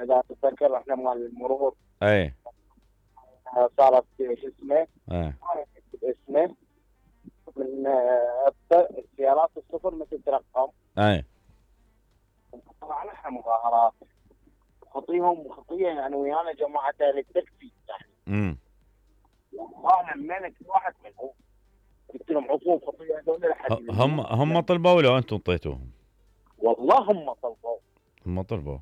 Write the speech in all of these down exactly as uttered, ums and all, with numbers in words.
اذا تتذكر احنا مال المرور. اي صارت شو اسمه؟ اي اسمه من السيارات الصفر مثل ترقم. اي طبعا احنا مظاهرات خطيهم خطيه يعني ويانا جماعه التكفي يعني. امم والله لمينا كل واحد منهم قلت لهم عقوب خطيه هذول لحد هم هم طلبوا ولا انتم اعطيتوهم؟ والله هم طلبوا. هم طلبوا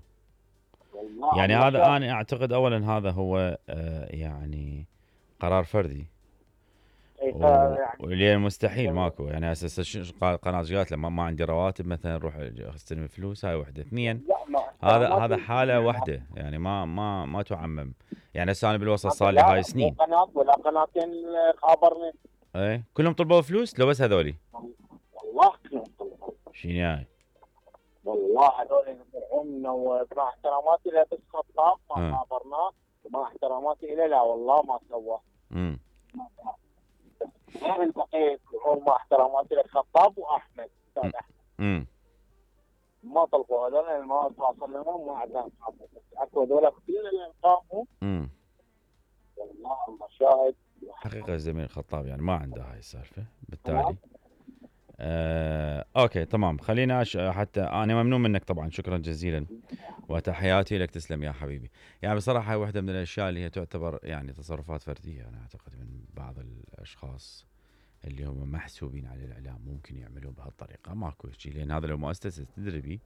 والله يعني الله هذا شاهد. انا اعتقد اولا هذا هو آه يعني قرار فردي. إيه، و- يعني واللي مستحيل ماكو يعني اساس ش- قناه قالت لما ما عندي رواتب مثلا روح استلم فلوس. هاي وحده. اثنين لا مع هذا احتراماتي هذا حاله الجميع. وحده يعني ما ما ما تعمم. يعني هسه انا بالوسط هذا صار لي لا هاي مو سنين. قناه ولا قناتين خابرني. ايه كلهم طلبوا فلوس لو بس هذولي؟ والله كلهم طلبوا. شنو يعني؟ والله هذول يدفعونا ومع احتراماتي له بس خطاب ما اه خابرناه. ومع احتراماتي له لا والله ما سوى. امم غير البقيه يقولون مع احتراماتي له خطاب واحمد استاذ احمد امم ما طلبوا هذول ما تواصل لهم ما عندنا قاموا. اكو هذول كل اللي قاموا امم والله الله شاهد. حقيقه الزميل الخطاب يعني ما عنده هاي السالفه بالتالي. آه، اوكي تمام. خلينا أش... حتى انا ممنون منك طبعا شكرا جزيلا وتحياتي لك. تسلم يا حبيبي. يعني بصراحه هاي واحده من الاشياء اللي هي تعتبر يعني تصرفات فرديه انا اعتقد من بعض الاشخاص اللي هم محسوبين على الاعلام ممكن يعملون بهالطريقه. ماكو شيء لان هذا لو مؤسسه تدريبي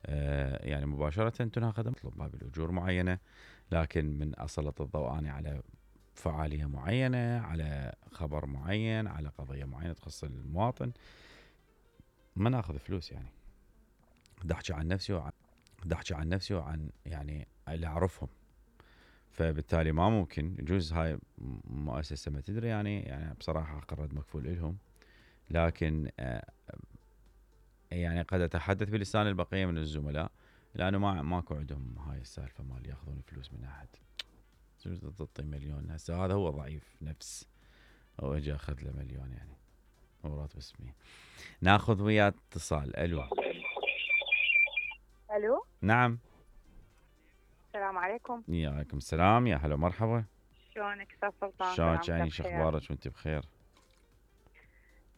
آه يعني مباشره تناخذ مطلوب ما بالاجور معينه. لكن من اسلط الضوء أنا على فعاليه معينه على خبر معين على قضيه معينه تخص المواطن ما ناخذ فلوس. يعني بدي احكي عن نفسي وعن بدي احكي عن نفسي وعن يعني اللي اعرفهم. فبالتالي ما ممكن يجوز هاي مؤسسه ما تدري يعني يعني بصراحه قررت مكفول لهم. لكن آه يعني قد اتحدث بلسان البقيه من الزملاء لانه ما ماكو عندهم هاي السالفه مال ياخذون فلوس من احد. تعطي مليون هسه هذا هو ضعيف نفس او اجى اخذ له مليون يعني هو راتب اسمي. ناخذ وياه اتصال. الو. الو نعم. السلام عليكم. وعليكم السلام يا هلا مرحبا. شلونك استاذ سلطان؟ شلونك سلامتك يعني شو بخير. اخبارك وانت بخير؟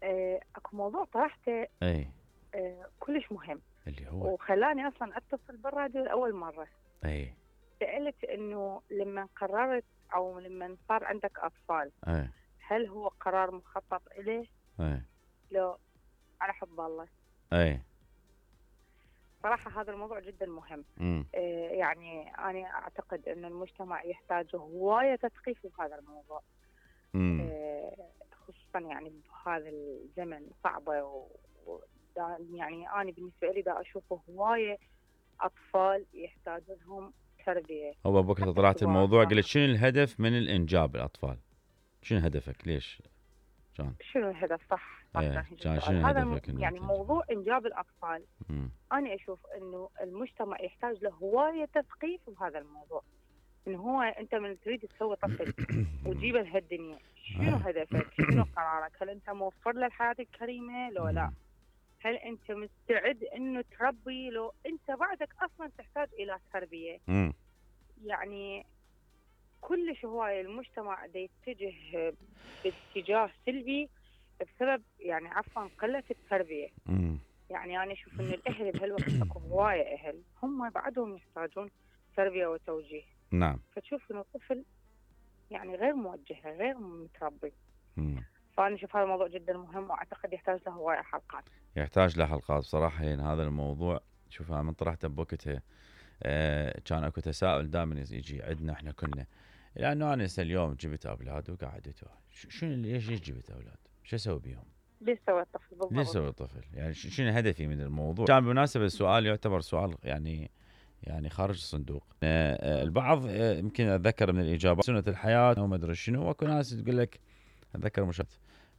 آه، اكو موضوع طرحته اي آه، كلش مهم اللي هو وخلاني اصلا اتصل بالراديو لاول مره. اي سالت انه لما قررت او لما صار عندك اطفال اي هل هو قرار مخطط اليه اي لو على حب الله؟ اي صراحه هذا الموضوع جدا مهم. امم آه، يعني انا اعتقد ان المجتمع يحتاج هوايه تثقيف بهذا الموضوع. امم آه، خصوصا يعني بهذا الزمن صعبه و... و... يعني انا بالنسبه لي دا اشوفه هوايه اطفال يحتاجون لهم تربيه. هو ابوك طلعت الموضوع قلت شنو الهدف من الانجاب الاطفال؟ شنو هدفك؟ ليش؟ كان شنو الهدف؟ صح صح ايه كان كان شنو هذا هدفك الم... انه يعني تنجب؟ موضوع انجاب الاطفال امم انا اشوف انه المجتمع يحتاج له هوايه تثقيف بهذا الموضوع. انه هو انت من تريد تسوي طفل وتجيبه لهالدنيا شنو هدفك؟ شنو قرارك؟ هل انت موفر له الحياه الكريمه لو لا؟ هل انت مستعد انه تربي لو انت بعدك اصلا تحتاج الى تربيه؟ امم يعني كلش هوايه المجتمع دا يتجه باتجاه سلبي بسبب يعني عفوا قله التربيه. امم يعني انا اشوف ان الاهل بهالوقت اكو هوايه اهل هم بعدهم يحتاجون تربيه وتوجيه. نعم. فتشوف انه الطفل يعني غير موجه غير متربي. امم فانا اشوف هذا الموضوع جدا مهم واعتقد يحتاج له هوايه حلقات. يحتاج له حلقات بصراحه لان هذا الموضوع شوف انا من طرحته بوقتها آه كان اكو تساؤل دائما يجي عندنا احنا كنا لانه انا هسه اليوم جبت اولاد وقعدت شنو ليش ليش جبت اولاد؟ شو اسوي بيهم؟ ليش سوى الطفل بالضبط؟ ليش سوي الطفل؟ يعني شنو هدفي من الموضوع؟ كان بالمناسبه السؤال يعتبر سؤال يعني يعني خارج الصندوق. آه البعض آه يمكن اتذكر من الاجابات سنه الحياه وما ادري شنو واكو ناس تقول لك اتذكر مشاهد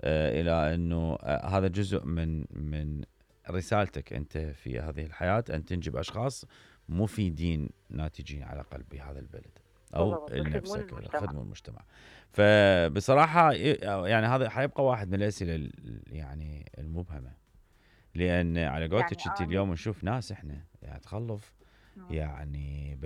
آه الى انه آه هذا جزء من من رسالتك انت في هذه الحياه ان تنجب اشخاص مفيدين ناتجين على الاقل بهذا البلد او لنفسك خدموا المجتمع. فبصراحه يعني هذا حيبقى واحد من الاسئله يعني المبهمه لان على قولتك يعني انت اليوم نشوف ناس احنا يعني تخلف يعني